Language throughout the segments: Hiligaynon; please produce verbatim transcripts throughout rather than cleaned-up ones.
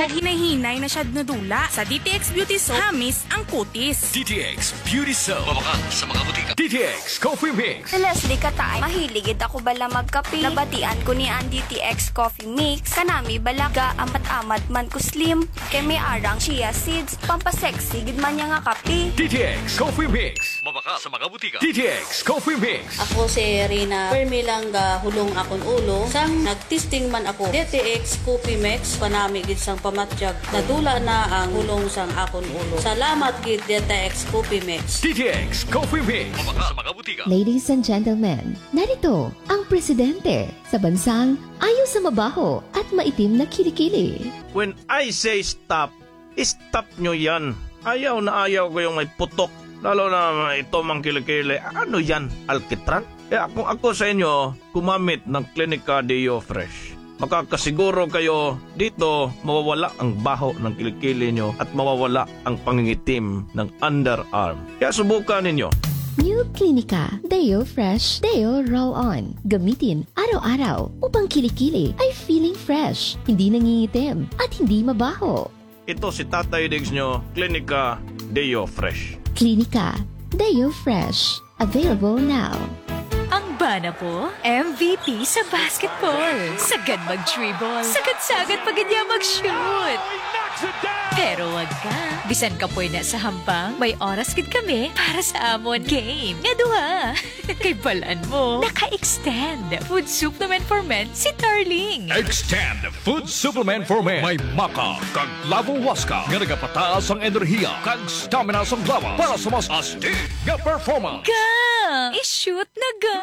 Hinay-hinay na siya nadula. Sa D T X Beauty Soap, hamis ang kutis. D T X Beauty Soap. Mabakal sa mga butika. D T X Coffee Mix. Si Leslie Katay, mahilig gid ako bala magkape. Nabatian ko ni ang D T X Coffee Mix. Kanami bala ga amat-amat man ko slim. Kay may arang chia seeds, pampasexy gid man niya nga kape. D T X Coffee Mix. Mabakal sa mga butika. D T X Coffee Mix. Ako si Rina. Permi lang gahulong akon ulo. Sang nagtesting man ako, D T X Coffee Mix, kanami gid sang pamatyag. Nadula na ang hulong sang akon ulo. Salamat gid, D T X Coffee Mix. D T X Coffee Mix. Mabakal sa mga butika. Ladies and gentlemen, narito ang presidente sa bansang ayaw sa mabaho at maitim na kilikili. When I say stop, stop nyo yan. Ayaw na ayaw ko yung may putok. Lalo na ito mang kilikili. Ano yan? Alkitran? Kaya kung ako sa inyo, gumamit ng Clinica Deo Fresh. Makakasiguro kayo dito mawawala ang baho ng kilikili nyo at mawawala ang pangingitim ng underarm. Kaya subukan ninyo. New Clinica Deo Fresh Deo Roll On. Gamitin araw-araw upang kilikili ay feeling fresh, hindi nangingitim, at hindi mabaho. Ito si Tatay Diggs nyo, Clinica Deo Fresh. Clinica Deo Fresh. Available now. Ang bana ko, M V P sa basketball. Sagad mag-dribble. Sagad-sagad pa gid niya mag-shoot. Pero wag ka. Bisan kapoy na sa hampang, may oras gid kami para sa amon game nga duha. Kay balan mo, naka-extend Food Supplement for Men si Tarling. Extend Food Supplement for Men. May maca kag lavo huasca nga nagapataas ang enerhiya kag stamina sang lawas para sa mas astig nga performance. Ga! I-shoot na ga!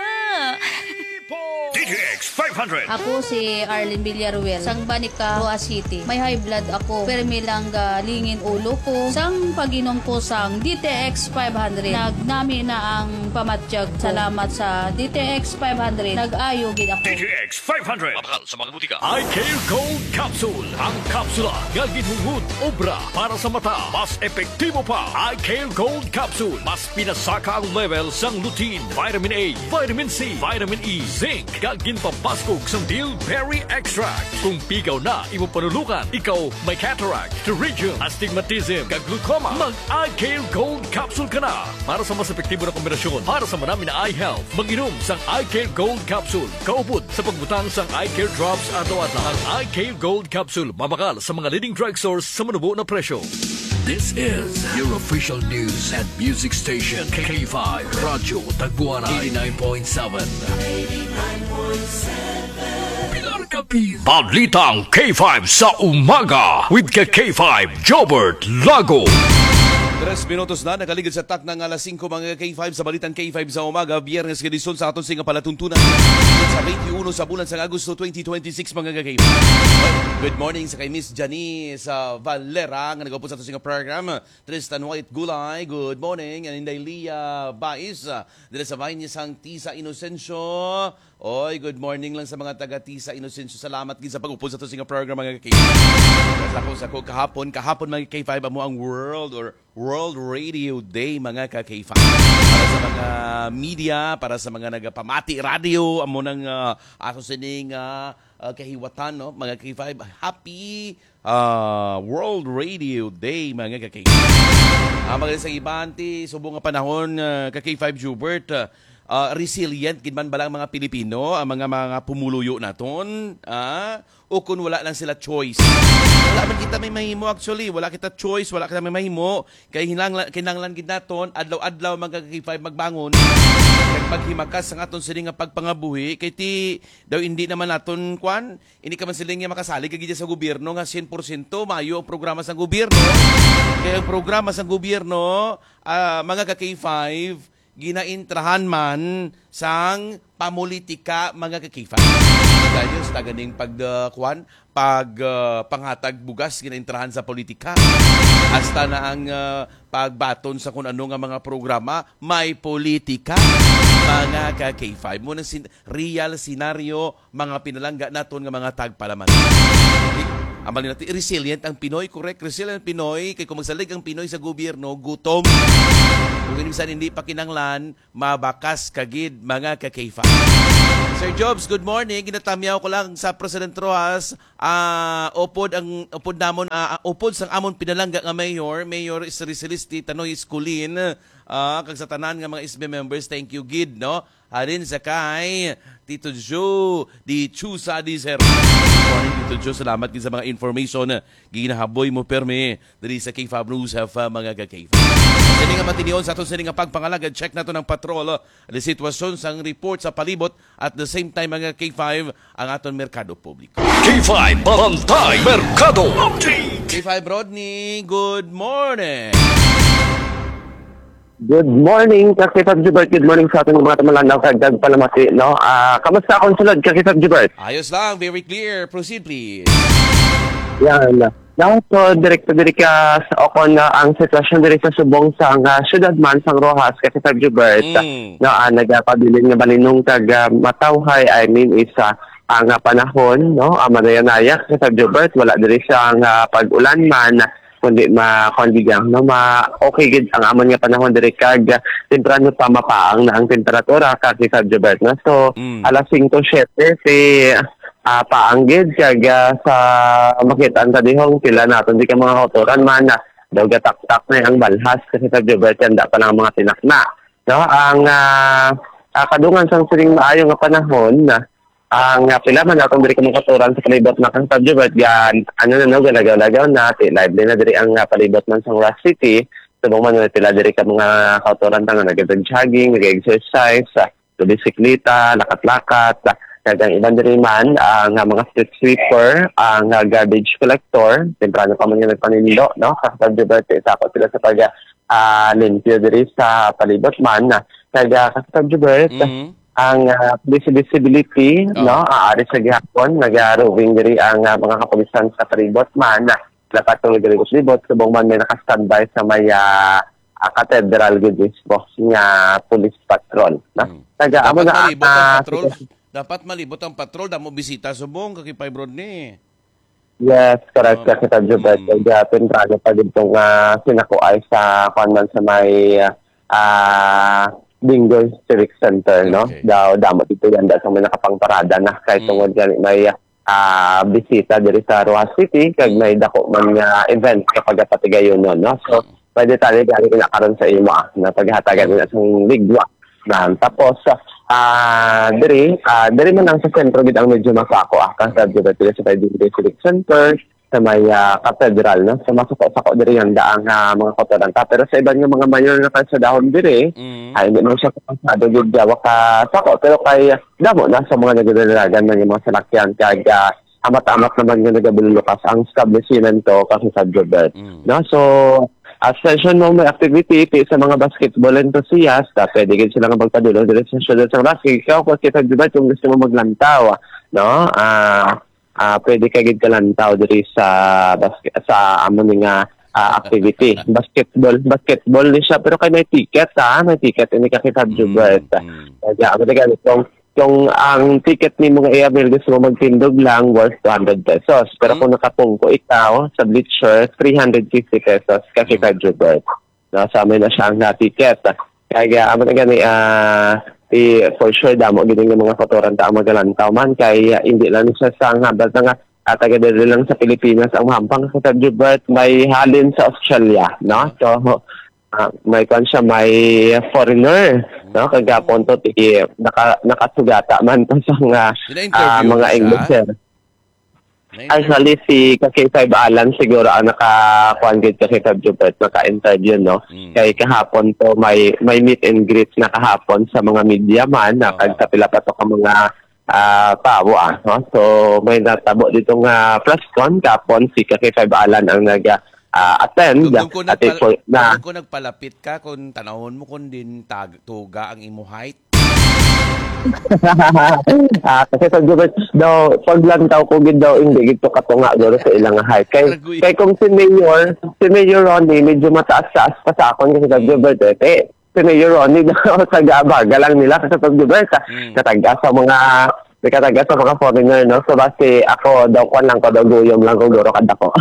D T X five hundred. Ako si Arlene Villaruel, sang Banica, Roa City. May high blood ako. Permi lang ga lingin ulo ko. Sang pag-inom ko sang D T X five hundred, nagnami na ang pamatyag ko. Salamat sa D T X five hundred. Nag-ayo gid ako. D T X five hundred. Mabakal sa mga butika. Eye Care Gold Capsule. Ang kapsula nga ginhungod obra para sa mata. Mas epektibo pa. Eye Care Gold Capsule. Mas pinasaka ang level sang lutein, vitamin A, vitamin C, vitamin E, zinc, kag ginpapaskog sang bilberry extract. Kung pigaw na imo panulungan, ikaw may cataract, pterygium, astigmatism, kag glaucoma, mag Eye Care Gold Capsule ka na. Para sa mas epektibo na kombinasyon para sa manami na eye health, mag-inom sang Eye Care Gold Capsule. Kaupod sa pagbutang sang Eye Care Drops adlaw-adlaw. Ang Eye Care Gold Capsule mabakal sa mga leading drugstores sa manubo na presyo. This is your official news and music station, K five Radyo Tagwaray, eighty-nine point seven. Pilar Capiz. Balitang K five sa umaga with ka K five Jobert Lago. Tres minutos na nakaligid sa takna nga alas singko, mga K five, sa Balitang K five sa umaga, Biyernes nga edisyon sa aton sing palatuntunan sa twenty-one sa bulan sa Agosto twenty twenty-six, mga K five. Good morning sa kay Miss Janice, ah, Valera nga nagaupod sa aton sing program. Tristan White Gulay, good morning. And Inday Leah Bais, ah, diri sa Vaina sang Tisa Inocencio. Oy, good morning lang sa mga taga Tisa Inocencio. Salamat gid sa pag-upod sa to sing program, mga kaibigan. Sa ko, sa ko, kahapon, kahapon, mga K five, amo ang World or World Radio Day, mga ka K five. Para sa mga media, para sa mga nagapamati radio, amo nang, ah, ato sining, ah, ah, kahiwatan, no? Mga K five, happy ah, World Radio Day, mga ka-K five. Ah, magaling sa iban, ti subong nga panahon, ah, ka-K five Jubert, ah, ah, resilient gid man bala ang mga Pilipino, ang mga, mga pumuluyo naton, ah, o kun wala lang sila choice. Wala man kita may mahimo, actually, wala kita choice, wala kita may mahimo, kay hinangla-, kinahanglan gid naton adlaw-adlaw, mga ka-K five, magbangon kag maghimakas sa aton sini nga pagpangabuhi, kay ti daw hindi naman naton kwan, hindi ka man siling nga makasalig ka gid sa gobyerno nga sien porsyento maayo ang programa sang gobyerno. Kay ang programa sang gobyerno, ah, mga ka K five, ginaintrahan man sang pamulitika, mga ka K five. Dahil sa taganing pag, ah, kwan, pag, ah, panghatag bugas, ginaintrahan sa politika. Hasta na ang, ah, pagbaton sa kun ano nga mga programa, may politika, mga ka K five. Mo nang sin-, real scenario, mga pinalangga naton nga mga tagpalaman. Di, amal nila ti, resilient ang Pinoy, correct? Resilient ang Pinoy, kay kung magsalig ang Pinoy sa gobyerno, gutom. Kung minsan hindi pa kinanglan, mabakas ka gid, mga ka-K five. Sir Jobs, good morning. Ginatamyaw ko lang sa President Roxas, ah, upod ang, upod namon, ah, upod sang amon pinalangga nga mayor, Mayor Sri Celeste Tanoy Escolin, ah, kag sa tanan nga mga S B members, thank you gid, no? Halin sa kay Tito Joe di Chusa di Sir. Good morning, Tito Joe. Salamat gid sa mga information. Ginahaboy mo permi diri sa K five News F M, mga ka-K five. Sini nga matinion sa aton sini nga pagpangalagad, check nato ng patrol, ang sitwasyon sang report sa palibot, at the same time, mga K five, ang aton merkado publiko. K five Bantay Merkado. K five Rodney, good morning. Good morning, Kakitang Jubert. Good morning sa ating mga tumalanaw kag nagpalamati, no? Ah, kamusta akong sulod, Kakitang Jubert? Ayos lang, very clear. Proceed, please. Yan. Now, so, direkto diri ka sa, o kon, ah, ang sitwasyon diri sa subong sang, ah, syudad man sang Roxas, Kakitang Jubert. Mm. No, ah, nagapabilin nga balinong kag, ah, matawhay, I mean, is, ah, ang, ah, panahon, no? Ah, manaya-naya, Kakitang Jubert, wala diri sang, ah, pag-ulan man, kundi ma-, kundi gid, no, ma-, okay gid ang amon nga panahon diri kag temprano pa mapaang na ang temperatura, Kakitang Jubert, no? So, Mm. alas singko, siyete, si, ah, paang gid kag, ah, sa makit-an ta dihong pila naton di ka mga kautoran man, ah, daw gataktak na ang balhas, Kakitang Jubert, kanda pa lang mga tinakna, no? Ang, ah, ah, kadungan sang sining maayo nga panahon, ah, ang, ah, pila man naton diri ka mga kautoran sa palibot na kang San Jubert, gan-, ano na, no, galagaw-lagaw na, ti-, lively na diri ang, ah, palibot man sa Roxas City. Subong man na pila diri ka mga kautoran ta nga nag-jogging, nag-exercise, ah, bisikleta, lakat-lakat, ah, kag ang iban diri man, ah, nga mga street sweeper, ah, nga garbage collector, temprano pa man nga nagpanindo, no? Sa San Jubert, sa ako sila sa pag, ah, limpyo diri sa palibot man, ah, kag, ah, sa San Jubert, Mm. ang, ah, visi-, visibility, Oh. no, ah, ari sa gihapon, naga-roving diri ang, ah, mga kapulisan sa palibot man, ah, nakatulog diri sa palibot, subong man may naka-standby sa may, ah, ah, Cathedral gid mismo nga police patrol, no? Mm. Taga, amo Dapat na, malibot ang ah, patrol. sige. Dapat malibot ang patrol, damo bisita subong, Kakipay Rodney. Yes, correct, Oo. Kakitang Jubert. Mm. Kaya temprano pa gid tong, ah, sinakuay sa, kuwan man, sa may, ah, Bingoy Civic Center, no? Okay. Daw, damo dito yan, daw, sa may nakapangparada na. Kay Mm. tungod gani may, ah, bisita diri sa Roxas City, kag Mm. may dako man nga event sa pagapatigayonon, no? So, Mm. may detalye gani na karon sa imo, ah, na paghatagan Mm. na sa ligwa. Na, tapos, ah, diri, ah, diri man lang sa sentro gid ang medyo masako, ah, kang sa Mm. diri sa Bingoy Civic Center, sa may, ah, Cathedral, no? So, masako-sako diri ang daang, ah, mga kautoran ta. Pero sa iban nga mga mayor nga kalsadahon diri, Mm. ah, hindi man siya kapasado gid gawa ka sako. Pero kay, ah, damo na sa mga nagdadalagan man yung mga salakyan, kag, ah, amat-amat naman nga nagabululukas ang establishmento, kasi sa Jobert. Mm. No? So, as mentioned mo, may activity ti sa mga basketball enthusiast, ah, pwede gid sila nga magpadulong diri sa Siyudad sa Roxas. Ikaw, kung kita, Jobert, kung gusto mo maglantaw, no? Ah, ah, pwede ka gid kalantaw diri sa basket, sa amo ni nga, ah, activity. Basketball, basketball ni siya, pero kay may ticket, ha? May ticket ini ka kita, Mm, Jobert. mm. Kaya, amo ni gani, kung, kung ang ticket nimo nga i-avail, gusto mo magtindog lang, worth two hundred pesos. Pero Mm. kung nakapungko ikaw sa bleacher, three hundred fifty pesos ka kita, Mm. Jobert. No, sa amin na siya ang, ah, ticket. Kaya, amo na gani, ah, i-, for sure, damo gid nga mga kautoran ta ang magalantaw man. Kay, ah, hindi lang siya sa hambal na nga, ah, taga diri lang sa Pilipinas ang mahampang sa San Jobert, may halin sa Australia, no? So, ah, may kwan siya, may foreigner, no? Kagapon to, ti-, naka-, nakasugata man to sa nga, Pina-interview ah, mga mo siya? English, sir. May Actually, si ka K five Alan siguro ang naka-, kuwan gid ka K five Jupert, naka-interview, no? Mm. Kay kahapon to, may, may meet and greet na kahapon sa mga media man, na Oo. kag sa pila pa to ka mga, ah, tawo, ah, no? So, may natabo dito nga press con, kahapon si ka K five Alan ang nag, ah, attend. Dugdog ko At nagpal-, ito na dugdog ko nagpalapit ka kung tanawon mo kung din tag-, tuga ang imo height. Ah, kasi sa Gilbert daw, paglantaw ko gid daw, hindi gid to katunga guro sa ilang height. Kay, Aragoy. kay kung si Mayor, si Mayor Ronnie, medyo mataas-taas pa sa akon kasi sa Mm. Gilbert, eh. Kay si Mayor Ronnie daw, taga-abaga lang nila kasi sa Gilbert, ah, Mm. kataga sa mga, may kataga sa mga foreigner, no? So, basi ako daw, kwan lang ko, daw guyom lang ko, guro kadako.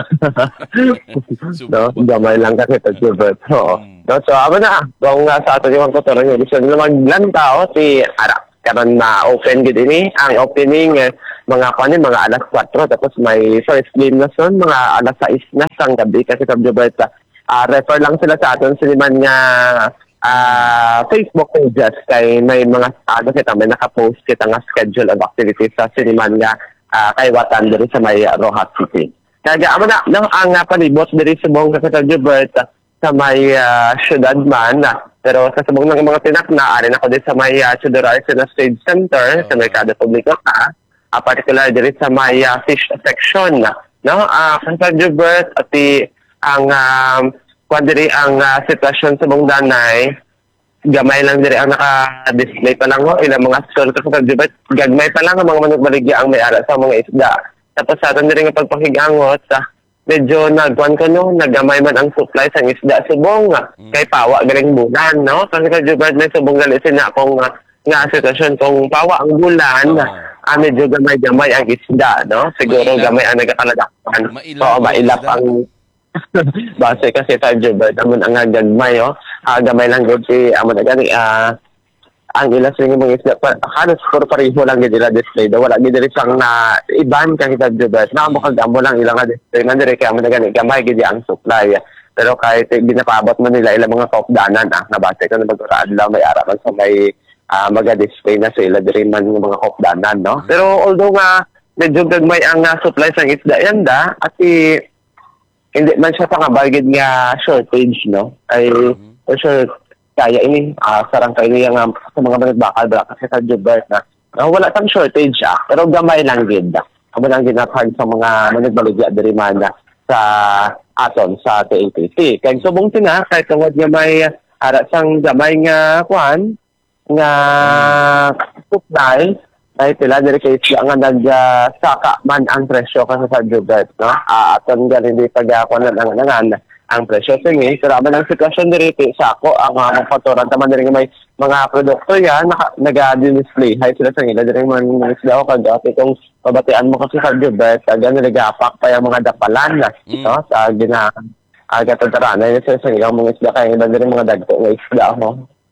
Subo No? ba? Gamay lang kasi sa Gilbert. Oo. Mm. No? So, amo na, kung, ah, sa ato yung kultura, yung gusto nila maglantaw, si Ara. karon ma-open gid ini. Ang opening, eh, mga, kuwan, eh, mga alas kwatro, tapos may first game na son, mga alas sais na sang gabi, kasi, Sir Jobert, ah, refer lang sila sa aton siniman nga, ah, Facebook pages, kay may mga, ano kita, may nakapost kita nga schedule of activities sa siniman nga, ah, kaiwatan diri sa may Roxas City. Kaya amo na, no, ang, ah, palibot diri subong ka, Sir Jobert, sa may, ah, syudad man, ah, pero sa subong ng mga tinakna, ari na ko din sa may, ah, Teodoro Arcenas Trade Center, sa Oo. Merkado Publiko, ah, ah, particular diri sa may, ah, fish section, no? Ah, Sir Jobert, ati ang, ah, kwan diri ang, ah, sitwasyon sa Bungdanay, gamay lang diri ang naka-display pa lang, ho. Ilang mga store, Sir Jobert, gagmay pa lang ang mga manugbaligya ang may ara sa mga isda. Tapos sa aton diri nga pagpakig-angot, ah, medyo nagkuan ko, no, nagamay man ang supply sang isda subong, ah, Mm. kay pawa galing bulan, no? Kasi, Sir Jobert, may subong gali sina akong, ah, nga sitwasyon kung pawa ang bulan, Oo. ah, medyo gamay-gamay ang isda, no? Siguro Mailap. gamay ang nagakaladakpan. Mailap Oo, ang mailap isda. ang base kasi, Sir Jobert, amo na nga gagmay, oh. Ah, gamay lang gud si, amo na gani, ah, ang ila sa mga isda, pa, halos puro pareho lang gid ila display. Daw wala gid diri sang na iban kang Sir Jobert. Na mo kag amo lang ila nga display man diri kay amo na gani gamay gid ang supply. Pero kahit, eh, ginapaabot man nila ila mga kaupdanan, ah, nga base ko na magkakaadlaw may ara man sa may, ah, maga-display na sila diri man nga mga kaupdanan, no? Mm. Pero although nga medyo gagmay ang, ah, supply sang isda yanda, at i-, hindi man siya pangabagid nga shortage, no? Ay, Mhm. for sure, kaya ini, ah, sarang kayo niya nga sa mga magbakal, bala kasi, Sir Jobert, na, na wala sang shortage, ah, pero gamay lang gid. Amo lang ginatag sa mga managbaligya diri man, ah, sa aton, sa T A T C. Kay subong sina, kay tungod nga may, ah, ara sang gamay nga, kuan, nga supply, ay sila diri kay siya nga nag, ah, saka man ang presyo ka sa Sir Jobert, no? Ah, aton galing di pag, ah, kuwan lang ang, ang, ang presyo sini. Pero man ang sitwasyon diri, ti, sa ako, ang, ah, mga paturan taman diri nga may mga produkto yan, naka, naga-display. Hay sila sa ila diri man, mga isda o kag, ah, kung pabatian mo kasi, Sir Jobert, taga nagapak pa yung mga dapalan na, Mm. no? Sa gina-, ah, gatataranay na sila sa ilang mga isda, kaya iba diri mga dagko nga isda, ho.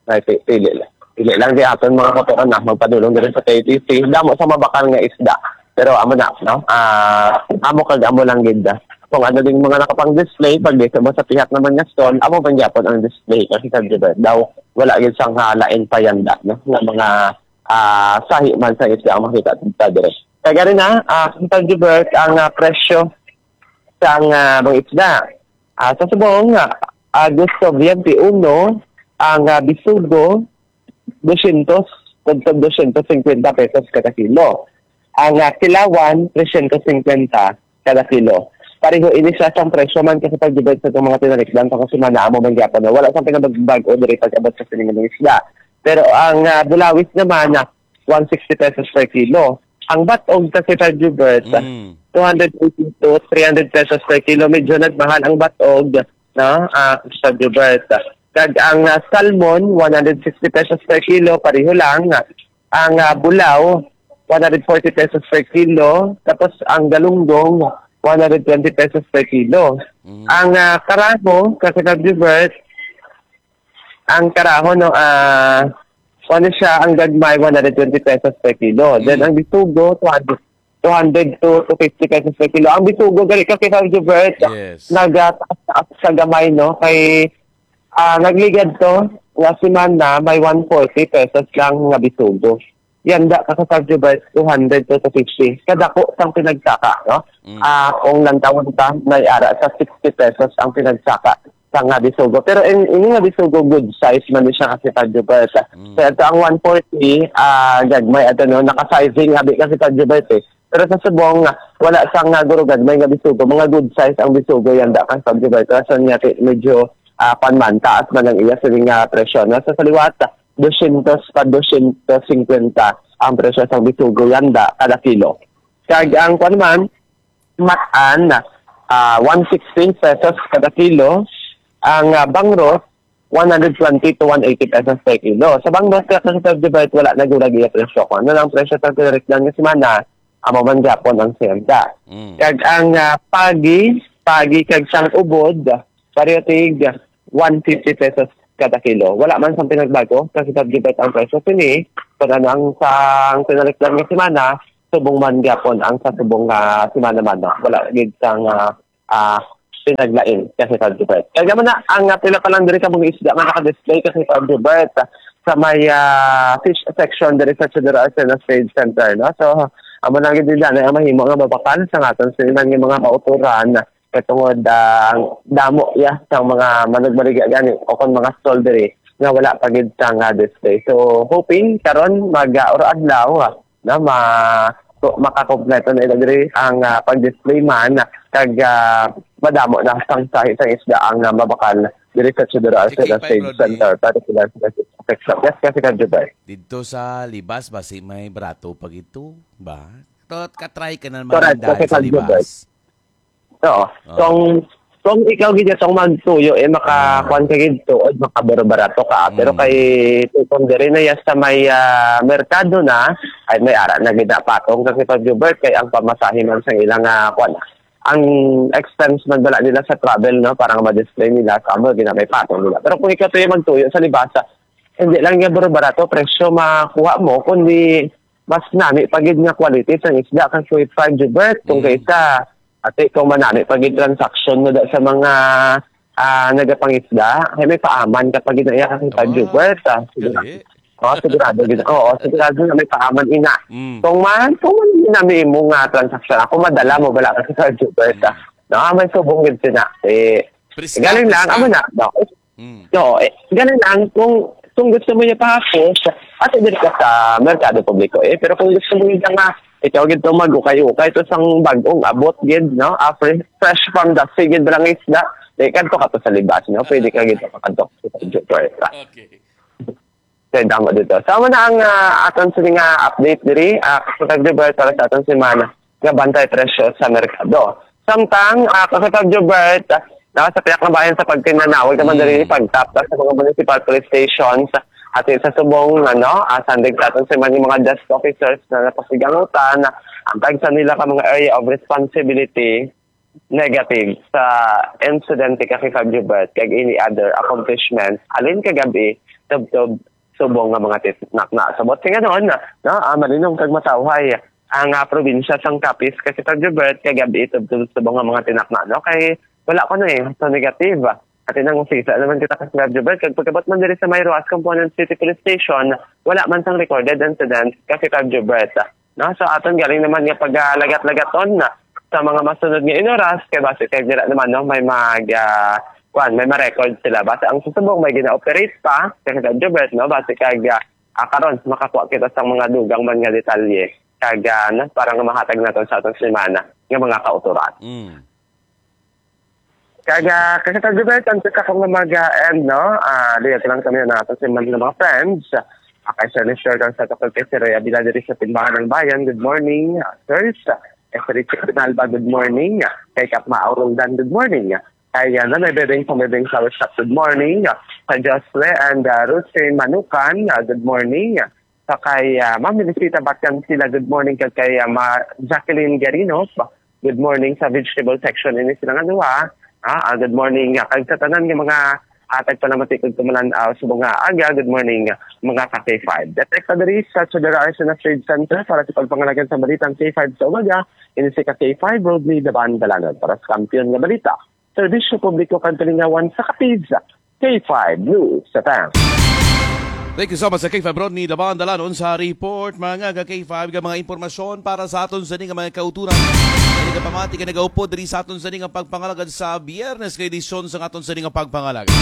Ay, pi-, pili lang. Pili lang di aton mga kapuan na magpadulong diri sa K T C. Damo sa mabakal nga isda. Pero amo na, no? Ah, amo kag amo lang gid, ah. Kung ano ding mga nakapang-display, pag dito mo sa pihak naman nga stall, amo man gyapon ang display. Kasi sa Jubert daw, wala gid sang, ah, lain pa yanda, no? Nga mga, ah, sahi man sa isda ang makita sa dire. Kaya gani na, ah, sa Jubert, ang, ah, presyo sang, ah, mga isda. Ah, sa subong, ah, Agosto twenty-one, ang, ah, bisugo, dosyentos, tagtag dosyentos singkwenta pesos kada kilo. Ang, ah, kilawan, tresyentos singkwenta kada kilo. Pareho ini siya sang presyo man kasi pag-debate sa itong mga tinalikdan sa kasimana, amo man gyapon na wala sang pinabag-o diri pag-abot sa sining mga isda. Pero ang, ah, bulawis naman, ah, one sixty pesos per kilo. Ang batog kasi, Sir Jubert, Mm. two hundred eighty to three hundred pesos per kilo. Medyo nagmahal ang batog, no? Ah, Sir Jubert. Kag ang, ah, salmon, one hundred sixty pesos per kilo, pareho lang. Ang, ah, bulaw, one hundred forty pesos per kilo. Tapos ang galunggong, one hundred twenty pesos per kilo. Mm. Ang, ah, karaho, kasi, Sir Jubert, ang karaho, no, ah, ano siya, ang gagmay, one hundred twenty pesos per kilo. Then, Mm. ang bisugo, two hundred, two hundred to two fifty pesos per kilo. Ang bisugo, gali ka, Sir Jubert, Yes. nagataas-taas sa gamay, no? Kay, ah, nagligad to, nga semana, may one forty pesos lang nga bisugo. Yanda ka sa Sir Jubert, two hundred to two fifty. Kadako sang pinagsaka, no? Mm. Ah, kung lantawon ta, may ara sa sixty pesos ang pinagsaka sa nga bisugo. Pero in, ini nga bisugo, good size man ni siya kasi, Sir Jubert. Mm. So, ito ang one forty, ah, gagmay, ito, no, naka-sizing abi kasi, Sir Jubert, eh. Pero sa subong, ah, wala sang nga guro gagmay nga bisugo. Mga good size ang bisugo, yanda ka, Sir Jubert. Rason nga, ti-, medyo, ah, pan man, taas man ang iya sining nga presyo. No? Sa saliwat, dosyentos pa dosyentos singkwenta ang presyo sang bisugo, yanda, kada kilo. Kag ang, kuwan man, matan, ah, one sixty pesos kada kilo. Ang, ah, bangros, one hundred twenty to one eighty pesos per kilo. Sa bangros, kaya kasi subdivided, wala na gurag iya presyo. Kung ano lang presyo sa pinarikdan nga semana, amo man gyapon ang senda. Mm. Kag ang, ah, pagi, pagi kag sang ubod, pareho tig one fifty pesos kada kilo. Wala man sang pinagbago, kasi subdivided ang presyo sini, Pero ang sa, ang pinalit lang nga semana, subong man gyapon ang sa subong nga semana man, no? Wala gid sang, ah, ah, pinaglain kasi sa Gilbert. Kaya mo na, ang, ah, pila pa lang diri ka mga isda nga naka-display kasi sa Gilbert, ah, sa may, ah, fish section diri sa Teodoro Arcenas Trade Center, no? So, amo lang gid dili na ang mahimo nga mabakal sa aton sa iban nga mga kauturan, katungod, ah, damo, ya, sa mga manugmaligya gani o kung mga stall diri nga wala pa gid sang, ah, display. So, hoping karon mag, ah, or adlaw, ah, na ma-, to-, makakompleto na ila diri ang, ah, pag-display man, kag, ah, madamo na sang sahi sang isda ang, ah, mabakal diri sa Teodoro Arcenas Trade Center, particular sa section. Yes, kasi ka, Jubay. Didto sa Libas, basi may barato pa gid to, ba? Tot, katry ka na naman. Correct, dahil kasi sa ka, Jubay. Libas. Oo. Oo. Kung, kung ikaw gid tong magtuyo, eh, maka-, Ah. kuwan ka gid to, o makabarbarato ka. Pero Mm. kay, kung diri na ya sa may, ah, merkado na, ay may ara na gid na patong kasi pag Jubert, kay ang pamasahe man sa ilang, ah, kuwan, ang expense man bala nila sa travel, no, para nga ma-display nila, sa amo, gina-, may patong nila. Pero kung ikaw to yung magtuyo sa Libasa, hindi lang nga barbarato presyo makuha mo, kundi mas nami pa gid nga quality sang isda kang Kuya Jubert, kung Mm. kaysa, ate, kung manami pa gid transaction mo da sa mga, ah, nagapangisda, ay may paaman ka pa gid na iya kang Kuya Ah, Jubert, ah. Sigurado. Gali. Oo, sigurado gid. Oo, sigurado na may paaman ina. Mm. Kung man, kung man nami imo nga transaction, ako madala mo bala ka sa Jubert, ah. Mm. No, may subong gid sina. Eh, Priska, galing lang, priska. Amo na, no? Mm. No, eh, ganun lang, kung, kung gusto mo niya pahapos, ate, diri ka sa merkado publiko, eh. Pero kung gusto mo niya nga, ikaw gid to mag-ukay-ukay to sang bag-ong abot gid, no? Ah, fresh, fresh from the sea gid lang isda. Eh, kadto ka to sa Libas, no? Pwede ka gid makadto sa Jupiter. Okay. Kaya damo dito. So, amo na ang, ah, aton sini nga update diri, ah, Kapatag Jubert, para sa aton semana nga bantay presyo sa merkado. Samtang, ah, Kapatag Jubert, ah, naka sa piyak na bayan sa pagtinanaw, ka man diri Mm. pagtapta sa mga municipal police stations, at sa subong, ano, ah, sandig sa aton semana yung mga desk officers na napasigangutan, ang tagsa nila ka mga area of responsibility, negative sa insidente ka kay Fabio Bert kag any other accomplishment halin kagabi tubtob subong nga mga tinakna. Sa buot nga noon, no, ah, malinong kag matawhay ang, ah, probinsya sang Capiz kay Fabio Bert kagabi tubtob subong nga mga tinakna, no? Kay wala ko na eh, so negative. At inang usisa naman kita kay Fabio Bert kag pagkabot man diri sa may Roxas Component City Police Station, wala man sang recorded incident kay Fabio Bert. No? So, aton galing naman nga pagalagat-lagaton na sa mga masunod nga inoras, kay basi kay dira naman, no, may mag, ah, kuwan, may ma-record sila. Basi ang susubong may gina-operate pa, kay Jobert, no, basi kag, ah, ah, karon, makakuha kita sa mga dugang man nga detalye. Kag, ah, no, para nga mahatag naton sa atong semana nga mga kauturan. Mm. Kag, ah, kag sa Jubert, ang sa kong mga, ah, end, no? Ah, lihat lang kami na sa mga, mga friends. Ah, kay Sir Lester, kang sa Kapag kay Sir Rhea Bila diri sa Timbangan ng Bayan. Good morning, ah, sirs. Kay Sir Richard Pinalba, good morning. Kay Kap Maurong Dan, good morning. Kay, ah, Nanay Bebeng sa Bebeng Flower Shop, good morning. Kay Jocelyn and, ah, Rosie Manukan, ah, good morning. Sa kay, ah, Ma'am Felicita Batyan sila, good morning. Kag kay, ah, Ma-, Jacqueline Guerino, good morning sa vegetable section. Ini sila nga duha. Ah, ah, good morning. Ah, kag sa tanan nga mga hatag pa naman tikod tumalan, ah, sa mga aga, good morning, ah, mga ka K five. Detect pa diri sa Chodora Arsenal Trade Center para sa pagpangalagan sa balitang K five sa umaga. Ini si ka K five, Rodney Daban Dalanon para sa Kampiyon nga Balita. Serbisyo publiko kag kalingawan sa Capiz, K five News F M. Thank you so much sa K five Rodney Laban Dalanon sa report, mga ka K five, nga mga impormasyon para sa aton sa nga mga kauturan. Kini ka pamati ka nagaupod diri sa aton sa nga pagpangalagad sa Biyernes nga edisyon sa aton sa nga pagpangalagad.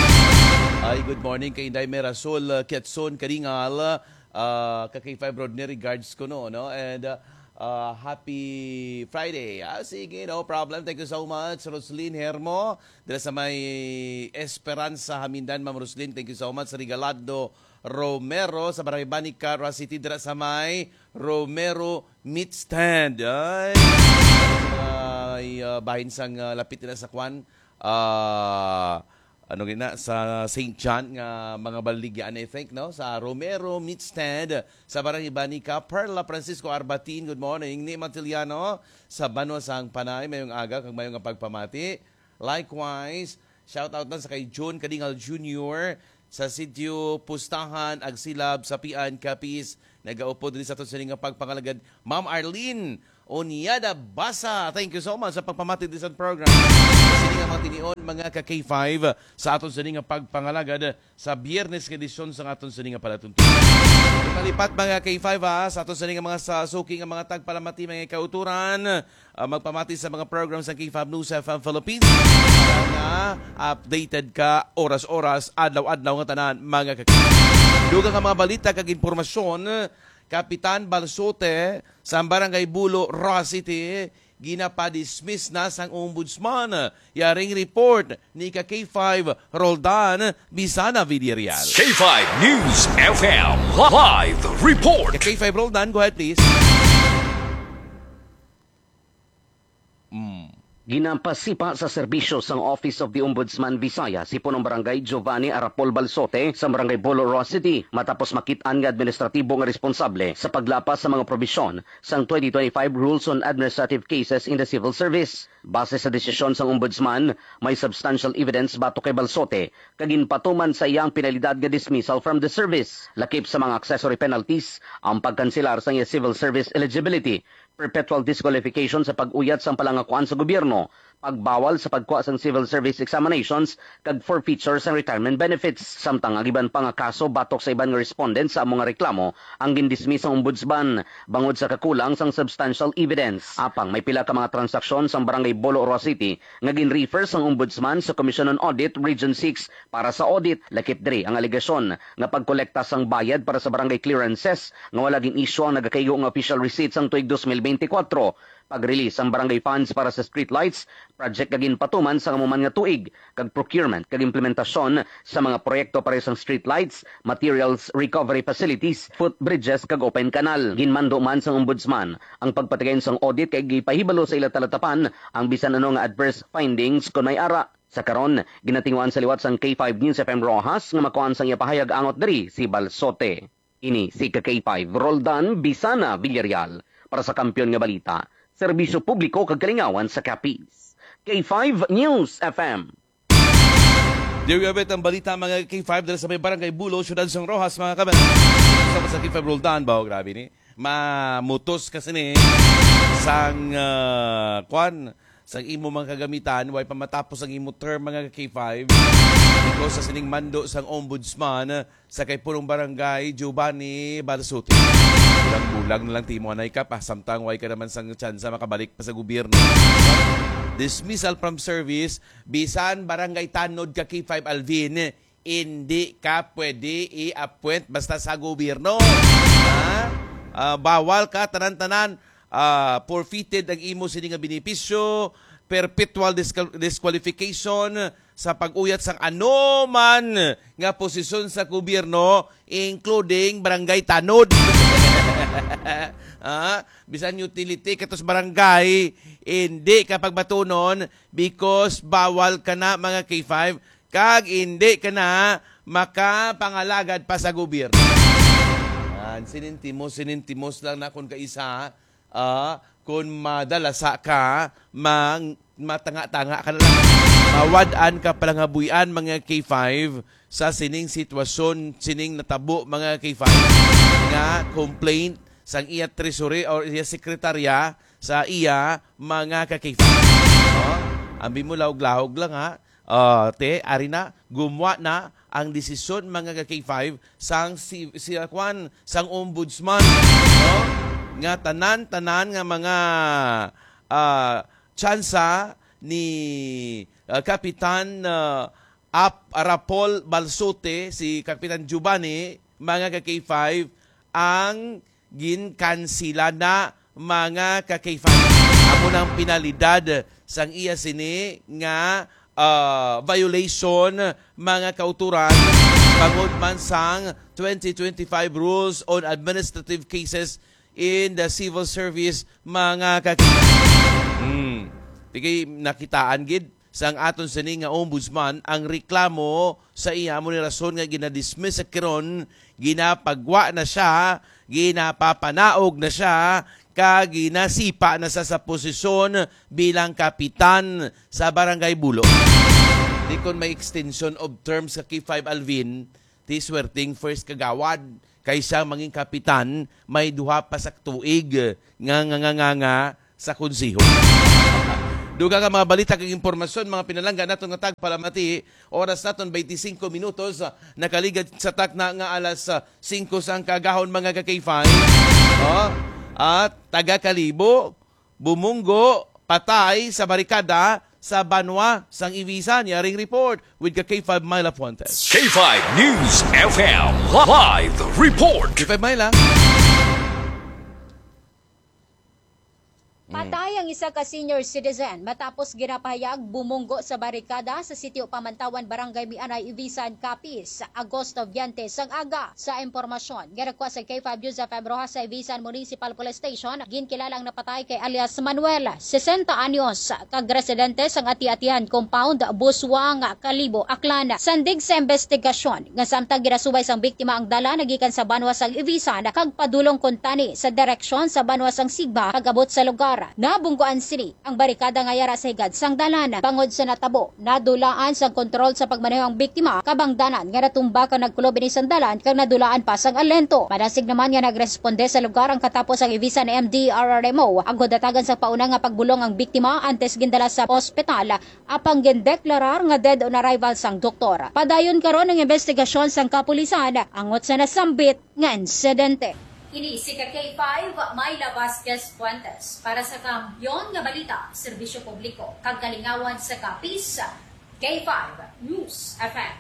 Ay, good morning kay Inday Merasol, uh, Kiatson Karingal, uh, ka K five Rodney, regards ko, no, no? And, uh, uh, happy Friday. Ah, sige, no problem. Thank you so much, Roslyn Hermo. Dira sa may Esperanza, Hamindan, Ma'am Roslyn, thank you so much. Regalado Romero sa Barangay Banica, Roa City, dira sa may Romero Meat Stand. Ay, ay, ah, bahin sang, ah, lapit nila sa kwan. Ah, ano gina, sa Saint John nga mga baligyaan, I think, no? Sa Romero Meat Stand sa Barangay Banica, Perla Francisco Arbatin, good morning. Ni Matiliano sa Banwa sang Panay, mayong aga kag mayong nga pagpamati. Likewise, shout out na sa kay June Kadingal Junior, sa Sitio Pustahan, Agsilab, Sapian, Capiz. Nagaupod diri sa aton sini nga pagpangalagad, Ma'am Arlene Onyada Basa. Thank you so much sa pagpamati diri sa program. Sini nga mga tinion, mga ka K five, sa aton sini nga pagpangalagad sa Biyernes nga edisyon sa aton sini nga palatuntunan. Ipalipat, mga K five, ha, sa aton sini nga mga sa suki nga mga tagpalamati, mga kauturan. Ah, magpamati sa mga program sa K five News F M Philippines para nga updated ka oras-oras, adlaw-adlaw nga tanan, mga kag-, dugang nga mga balita kag impormasyon. Kapitan Balsote sa Barangay Bulo, Roxas City, ginapadismiss na sang ombudsman. Yaring report ni ka K five Roldan Bisana Villarreal. K five News F M live report. Ka K five Roldan, go ahead, please. Mm. Ginapasipa sa serbisyo sang Office of the Ombudsman Visayas si Punong Barangay Giovanni Arapol Balsote sa Barangay Bulo, Roxas City, matapos makit-an nga administratibo nga responsable sa paglapas sa mga probisyon sang twenty twenty-five Rules on Administrative Cases in the Civil Service. Base sa desisyon sang Ombudsman, may substantial evidence batok kay Balsote kag ginpatuman sa iya ang penalidad nga dismissal from the service. Lakip sa mga accessory penalties ang pagkanselar sang iya civil service eligibility, perpetual disqualification sa pag-uyat sang palangakuan sa gobyerno, pagbawal sa pagkuha sang civil service examinations, kag forfeiture sang retirement benefits. Samtang ang iban pa nga kaso batok sa iban nga respondent sa amo nga reklamo ang gindismiss sang ombudsman bangod sa kakulang sang substantial evidence. Apang may pila ka mga transaksyon sang Barangay Bulo, Roxas City nga gin-refer sang ombudsman sa Commission on Audit Region six para sa audit. Lakip diri ang alegasyon nga pagkolekta sang bayad para sa barangay clearances nga wala gin-issue ang nagakaigo nga official receipt sang tuig dos mil bente kuwatro, pag-release sang barangay funds para sa streetlights project nga ginpatuman sang amo man nga tuig, kag procurement kag implementasyon sa mga proyekto pareho sang streetlights, materials recovery facilities, footbridges, kag open canal. Ginmando man sang ombudsman ang pagpatigayon sang audit kay gipahibalo sa ila talatapan ang bisan ano nga adverse findings kon may ara. Sa karon, ginatinguhaan sa liwat sang K five News F M Roxas nga makuhaan sang iya pahayag angot diri si Balsote. Ini si ka K five Roldan Bisana Villarreal para sa Kampiyon nga Balita, Serbisyo Publiko kag Kalingawan sa Capiz. K five News F M. There we have it, ang balita, mga K five, dala sa may Barangay Bulo, Siyudad sang Roxas, mga kabayan. Sa, sa K five Roldan ba? Oh, grabe ni. Mamutos kasi ni sang, ah, kwan, sang imo mga kagamitan, way pa matapos ang imo term, mga K five. Because sa sining mando sang ombudsman, sa kay Punong Barangay Giovanni Balsuti. Bulag-bulag na lang timo anay ka pa, samtang way ka naman sang tsansa makabalik pa sa gobyerno. Dismissal from service, bisan barangay tanod ka, K five Alvin, hindi ka pwede i-appoint basta sa gobyerno. Ha? Ah, bawal ka, tanan-tanan, ah, forfeited ang imo sini nga benepisyo, perpetual disqual-, disqualification sa pag-uyat sang anuman nga posisyon sa gobyerno, including barangay tanod. Ah, bisan utility katos barangay, hindi ka pagbatunon because bawal ka na, mga K five, kag hindi ka na makapangalagad pa sa gobyerno. Ah, sinintimos, sinintimos lang na kun kaisa, ah, kun madalasa ka, mang-, matanga-tanga ka na lang. Mawad-an ka pala nga buy-an, mga K five, sa sining sitwasyon, sining natabo, mga K five, nga complaint sang iya treasury or iya sekretarya sa iya, mga ka K five. No? Ambi mo, lahog-lahog lang, ha. Ah, te, ari na, gumwa na ang desisyon, mga ka K five, sang si, si, kwan, sang ombudsman, no? Nga tanan-tanan nga mga, ah, tsansa ni, ah, Kapitan, ah, Ap-, Rapol Balsote, si Kapitan Giovanni, mga ka K five, ang ginkansila na, mga ka K five. Amo nang penalidad sang iya sini nga, ah, violation, mga kauturan, bangod man sang twenty twenty-five Rules on Administrative Cases in the Civil Service, mga ka K five. Hmm. Di kay nakitaan gid sang aton sini nga ombudsman ang reklamo sa iya. Amo ni rason nga ginadismiss sa kiron, ginapagwa na siya, ginapapanaog na siya, kag ginasipa na siya sa posisyon bilang kapitan sa Barangay Bulo. Di kon may extension of terms sa K five Alvin, ti swerting first kagawad kaysa mangin kapitan may duha pa sa tuig nga nga nga nga, nga sa konseho. Dugang nga mga balita kag impormasyon, mga pinalangga naton nga tagpalamati. Oras naton, twenty-cinco minutos, ah, nakaligad sa takna nga alas, ah, singko sang kaagahon, mga ka-K five. Oh, at taga Kalibo, bumunggo, patay sa barikada sa banwa sang Ibisan. Yaring report with ka K five Myla Fuentes. K five News F M live report. K five Myla. Mm. Patay ang isa ka senior citizen matapos ginapahayag bumunggo sa barikada sa Sitio Pamantawan, Barangay Mianay, Ibisan, Capiz, Agosto twenty sang aga. Sa impormasyon nga nakuha sa K five News F M Roxas sa Ibisan Municipal Police Station, ginkilala ang napatay kay alias Manuel, sesenta anyos, kag residente sang Ati-Atihan Compound, Busuanga, Kalibo, Aklan. Sandig sa investigasyon nga samtang ginasubay sang biktima ang dalan nagikan sa banwa sang Ibisan kag padulong kuntani sa direksyon sa banwa sang Sigba, pag-abot sa lugar, nabungguan sini ang barikada nga yara sa higad sang dalan. Bangod sa natabo, nadulaan sang kontrol sa pagmaneho ang biktima, kabangdanan nga natumba kag nagkulob ini sang dalan kag nadulaan pa sang alento. Madasig naman nga nagresponde sa lugar ang katapo sang Ibisan M D R R M O, agod hatagan sa pauna nga pagbulong ang biktima antes gindala sa ospital, apang gindeklarar nga dead on arrival sang doktor. Padayon karon ang investigasyon sang kapulisan angot sa nasambit nga insidente. Ini si ka K five, Myla Vasquez Fuentes, para sa Kampiyon nga Balita, Serbisyo Publiko, kag Kalingawan sa Capiz, K five News F M.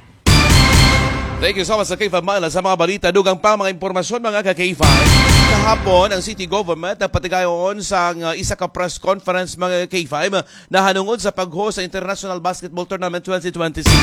Thank you so much sa K five Myla sa mga balita. Dugang pa mga impormasyon, mga ka K five. Kahapon, ang city government nagpatigayon sang, uh, isa ka press conference, mga K five, nahanungod sa pag-host sa International Basketball Tournament twenty twenty-six.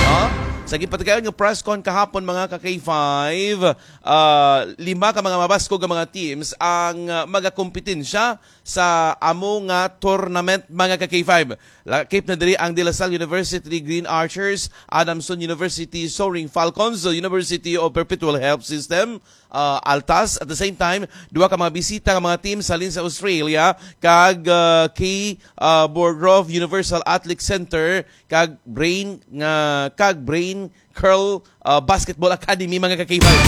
No? Sa gipatigayon nga press con kahapon, mga ka K five, ah, lima ka mga mabaskog nga mga teams ang, ah, magakompetensya sa amo nga tournament, mga ka K five. Lakip na diri ang De La Salle University Green Archers, Adamson University Soaring Falcons, University of Perpetual Help System, ah, Altas. At the same time, duha ka mga bisita nga mga team sa halin sa Australia, kag, ah, K, ah, Borgrove Universal Athletic Center, kag Brain, nga, kag Brain Curl, ah, Basketball Academy, mga ka K five.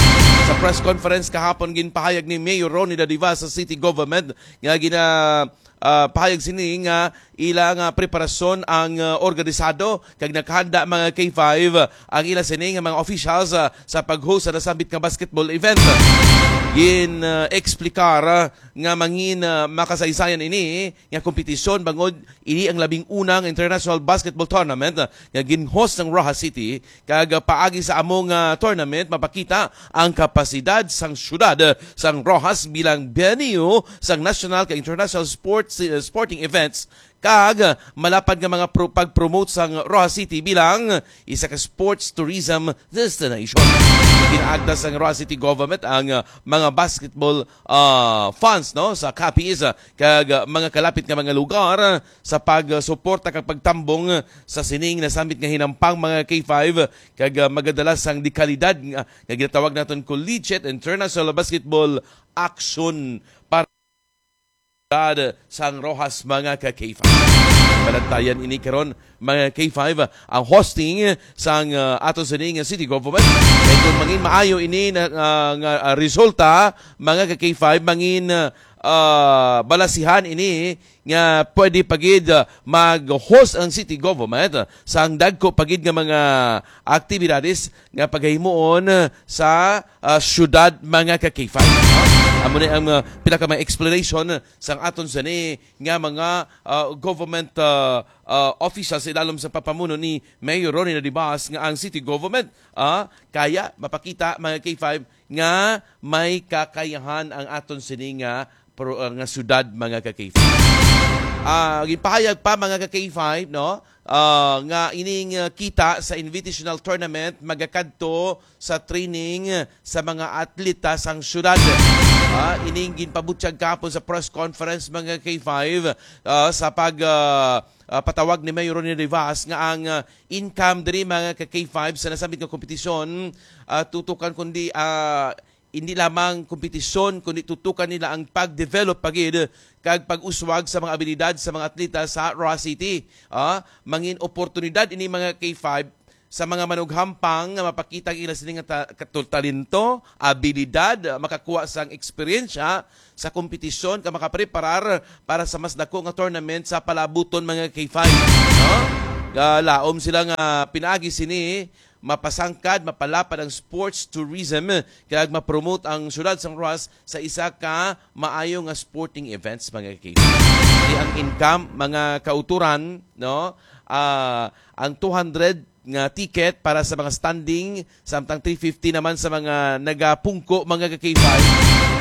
Sa press conference kahapon, ginpahayag ni Mayor Ronnie Dadiva sa city government nga gina, ah, pahayag sini nga ila nga preparasyon ang, ah, organisado kag nakahanda, mga K five, ang ila sini nga mga officials, ah, sa pag-host sa nasambit nga basketball event. Gin, ah, eksplikar, ah, nga mangin, ah, makasaysayan ini nga kompetisyon, bangod ini ang labing una nga international basketball tournament, ah, nga gin-host sang Roxas City, kag, ah, paagi sa amo nga tournament mapakita ang kapasidad sang syudad, ah, sang Roxas bilang venue sang national kag international sports, ah, sporting events, kag, ah, malapad nga mga pro-, pag-promote sang Roxas City bilang isa ka sports tourism destination. Ginaagda sang Roxas City Government ang, ah, mga basketball, ah, fans, no, sa Capiz, ah, kag, ah, mga kalapit nga mga lugar, ah, sa pagsuporta kag pagtambong, ah, sa sining nasambit nga hinampang, mga K five, kag, ah, magadala sang dekalidad nga, nga ginatawag naton Collegiate International Basketball Action para sang Roxas, mga ka K five. Balantayan ini karon, mga K five, ang hosting sang, ah, ato sini nga city government. Kay kung mangin maayo ini na, ah, nga, ah, resulta, mga ka K five, mangin, ah, balasihan ini nga pwede pa gid, ah, mag-host ang city government, ah, sang dagko pa gid nga mga aktibidades nga pagahimuon, ah, sa, ah, syudad, mga ka K five. Ah, amo ni ang, ah, pila ka mga explanation sang aton sini nga mga, ah, government, ah, ah, officials ilalom sa papamuno ni Mayor Ronnie Nadibas nga ang city government, ah, kaya mapakita, mga K five, nga may kakayahan ang aton sini nga pro-, ah, nga syudad, mga ka K five. Ah, ginpahayag pa, mga ka K five, no? Ah, nga ining, ah, kita sa invitational tournament magakadto sa training sa mga atleta sang syudad. Ah, ining ginpabutyag kahapon sa press conference, mga K five, ah, sa pag, ah, ah, patawag ni Mayor Ronnie Rivas nga ang, ah, income diri, mga ka K five, sa nasambit nga kompetisyon, ah, tutukan kundi, ah, hindi lamang kompetisyon, kundi tutukan nila ang pag-develop pa gid kag pag-uswag sa mga abilidad sa mga atleta sa Roxas City. Ah, mangin oportunidad ini, mga K five, sa mga manughampang nga mapakita ang ila sini nga ta-, katul-, talento, abilidad, makakuha sang eksperyensya sa kompetisyon kag makapreparar para sa mas dako nga tournament sa palabuton, mga K five, no? Galaom sila nga pinaagi sini mapasangkad, mapalapad ang sports tourism kag ma-promote ang siyudad sang Roxas sa isa ka maayo nga sporting events, mga K five. Di ang income, mga kauturan, no? Ah, ang two hundred nga ticket para sa mga standing, samtang three fifty naman sa mga nagapungko, mga ka-K five.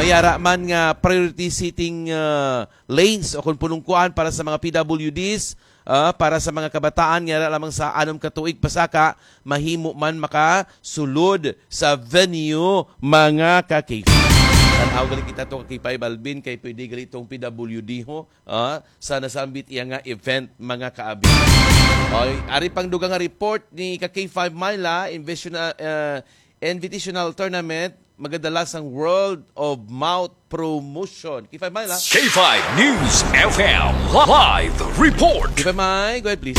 May ara man nga priority seating, ah, lanes o kung punungkuan para sa mga P W Ds, ah, para sa mga kabataan nga ara lamang sa anom ka tuig pasaka, mahimo man makasulod sa venue, mga ka-K five. Tan-aw gali kita to, ka-K five Alvin, kay pwede gali tong P W D ho, ah, sa nasambit iya nga event, mga kaabi. Oy, ari pang dugang nga report ni ka-K five Myla, Invitational, ah, Invitational Tournament, magadala sang Word of Mouth Promotion. K five Myla. K five News F M live report. K five May, go ahead, please.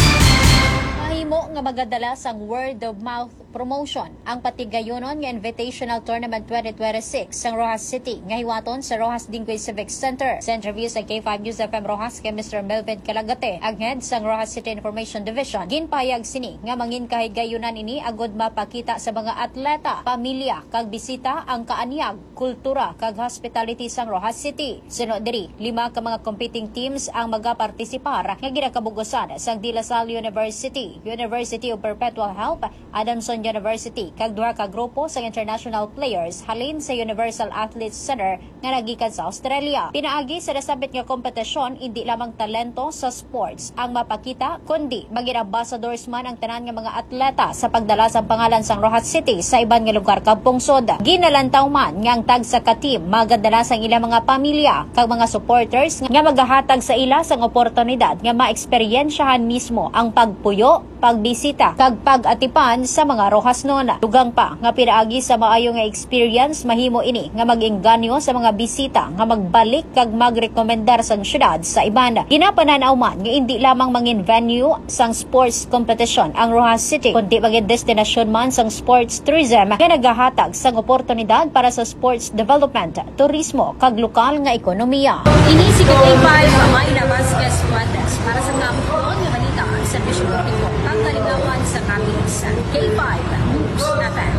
Mahimo nga magadala sang word of mouth promotion ang patigayunon nga Invitational Tournament twenty twenty-six sang Roxas City nga hiwaton sa Roxas Dinggoy Civic Center. Sa interview sa K five News F M Roxas kay Mister Melvin Calagate, ang head sang Roxas City Information Division, ginpahayag sini nga mangin kahigayunan ini agud mapakita sa mga atleta, pamilya, kag bisita ang kaanyag, kultura, kag hospitality sang Roxas City. Suno diri, lima ka mga competing teams ang magapartisipar nga ginakabug-osan sang De La Salle University, University of Perpetual Help, Adamson University, kag duha ka grupo sang international players halin sa Universal Athletes Center nga nagikan sa Australia. Pinaagi sa nasambit nga kompetisyon, indi lamang talento sa sports ang mapakita, kundi maging ambassadors man ang tanan nga mga atleta sa pagdala sang pangalan sang Roxas City sa iban nga lugar kag pungsod. Ginalantaw man nga ang tagsa ka team magadala sang ilang mga pamilya kag mga supporters nga magahatag sa ila sang oportunidad nga maeksperyensyahan mismo ang pagpuyo, pagbisita, kag pag-atipan sa mga Roxasnon. Dugang pa nga pinaagi sa maayo nga experience, mahimo ini nga mag-engganyo sa mga bisita nga magbalik kag magrekomendar sang syudad sa iban. Ginapanan-aw man nga indi lamang mangin venue sang sports competition ang Roxas City, kundi maging destinasyon man sang sports tourism nga nagahatag sang oportunidad para sa sports development, turismo, kag lokal nga ekonomiya. Ini si K five Myla Vasquez Fuentes para sa Kampuon nga Balita, Serbisyo Publiko, Pangkalingawan sa Capiz, K five News F M.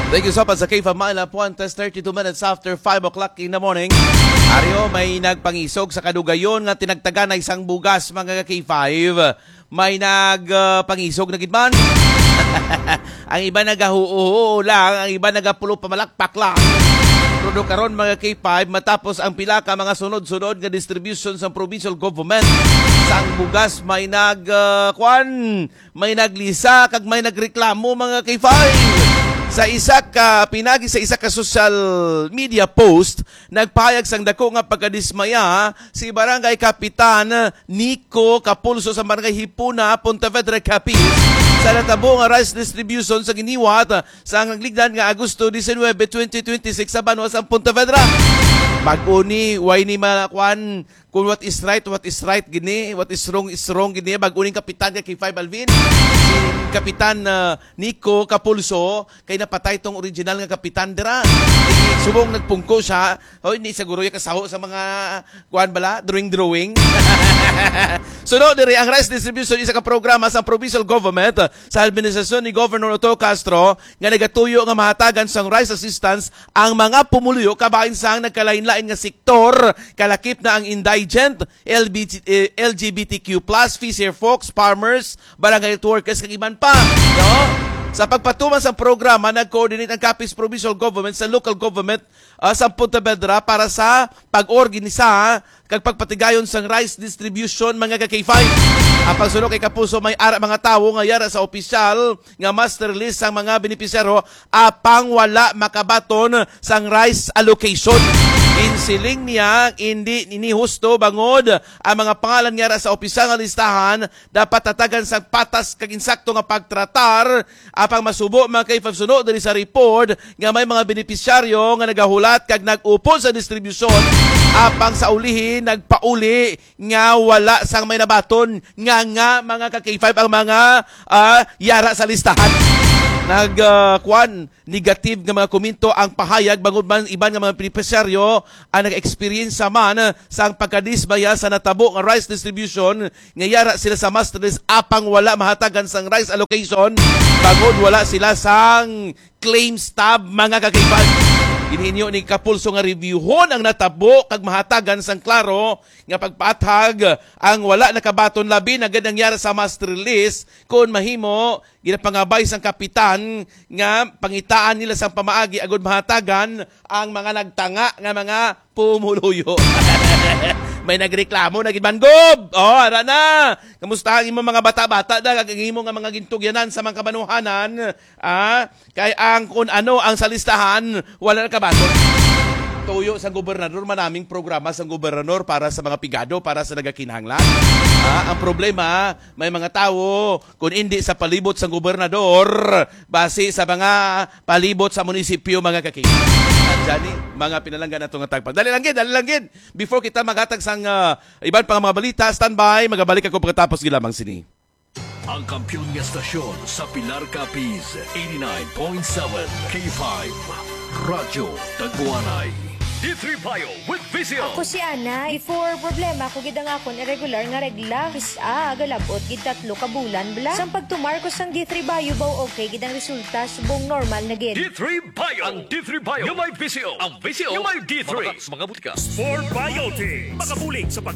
Thank you so much sa K five Myla Fuentes, thirty-two minutes after five o'clock in the morning. Aryo, may nagpangisog sa kadugayon nga tinagtagan na isang bugas, mga ka-K five. May nag, ah, pangisog na gid man. Ang iba nagahuo-huo lang, ang iba nagapulo pamalakpak lang. Pero karon, mga K five, matapos ang pila ka mga sunod-sunod nga distribution sa provincial government, sang bugas may nag, ah, kwan, may naglisa kag may nagreklamo, mga K five. Sa isa ka pinagi sa isa ka social media post, nagpahayag sang dako nga pagkadismaya si Barangay Kapitan Nico Capulso sa Barangay Hipona, Pontevedra, Capiz, sa natabo nga rice distribution sa ginhiwat sa nagligdan nga Agosto diecinuebe, twenty twenty-six sa banwa sa Pontevedra. Bag-o ni, way ni ma-, kwan, kung what is right, what is right gini, what is wrong is wrong gini. Bag-o ning kapitan nga K five Alvin, si Kapitan, ah, Nico Capulso, kay napatay tong original nga kapitan dira. Subong nagpungko siya, hoy, ni siguro yung kasaho sa mga, kuan bala, drawing-drawing. Suno diri ang rice distribution, isa ka programa sa provincial government sa administrasyon ni Governor Otto Castro nga nagatuyo nga mahatagan sang rice assistance ang mga pumuluyo kabahin sang nagkalain-lain nga sektor, kalakip na ang indigent, L B G, eh, L G B T Q plus, fisher folks, farmers, barangay health workers, kag iban pa, no? Sa pagpatuman sa programa, nag-coordinate ang Capiz Provincial Government sa local government, ah, sa Pontevedra para sa pag-organisa kag pagpatigayon sang rice distribution, mga ka-K five. Ang pagsuno kay Kapuso, may ara mga tawo nga yara sa opisyal nga master list sang mga benepisyaryo, apang wala makabaton sang rice allocation. Insiling niya, hindi ini husto bangod ang mga pangalan nga ra sa opisyal nga listahan dapat hatagan sang patas kag insakto nga pagtratar, apang masubo mga kay suno diri sa report nga may mga benepisyaryo nga nagahulat kag nag-upod sa distribusyon, apang sa ulihi nagpauli nga wala sang may nabaton nga, nga mga ka-K five ang mga, ah, yara sa listahan. Nag, ah, kwan, negative nga mga komento ang pahayag bangod man iban nga mga benepisyaryo ang nag-experience man sang pagkadismaya sa natabo nga rice distribution nga yara sila sa master list apang wala mahatagan sang rice allocation bangod wala sila sang claim stub, mga ka-K five. Ginhinyo ni Kapulso nga reviewhon ang natabo kag mahatagan sang klaro nga pagpaathag ang wala nakabaton, labi na gid ang yara sa master list. Kon mahimo, ginapangabay sang kapitan nga pangitaan nila sang pamaagi agud mahatagan ang mga nagtanga nga mga pumuluyo. May nagreklamo na gid man, Gob. Oh, ara na. Kamusta ang imo mga bata-bata da kag ang imo nga mga gintugyanan sa mga kabanuhanan? Ah, kay ang kun ano ang sa listahan, wala na kabaton. Tuyo sang gobernador, manaming programa sang gobernador para sa mga pigado, para sa nagakinahanglan. Ah, ang problema, may mga tawo, kung hindi sa palibot sang gobernador, basi sa mga palibot sa munisipyo, mga kaki. At dyan ni, mga pinalanggan nato nga tagpang. Dali lang gid, dali lang gid. Before kita maghatag sang, ah, iban pa nga mga balita, standby, magabalik ako pagkatapos gid lamang sini. Ang kampiyon nga stasyon sa Pilar Capiz, eighty-nine point seven K five, Radyo Tagwanay. D three Bio with Visio. Ako si Ana. Before, problema ko gid ang akon irregular nga regla. Kis-a, galabot gid tatlo ka bulan bala. Sang pagtumar ko sang D three Bio, baw okay gid ang resulta, subong normal na gid. D three Bio. Ang D three Bio nga may Visio. Ang Visio nga may D three. Mabaka sa mga butika. Sport Biotic. Makabulig sa pag-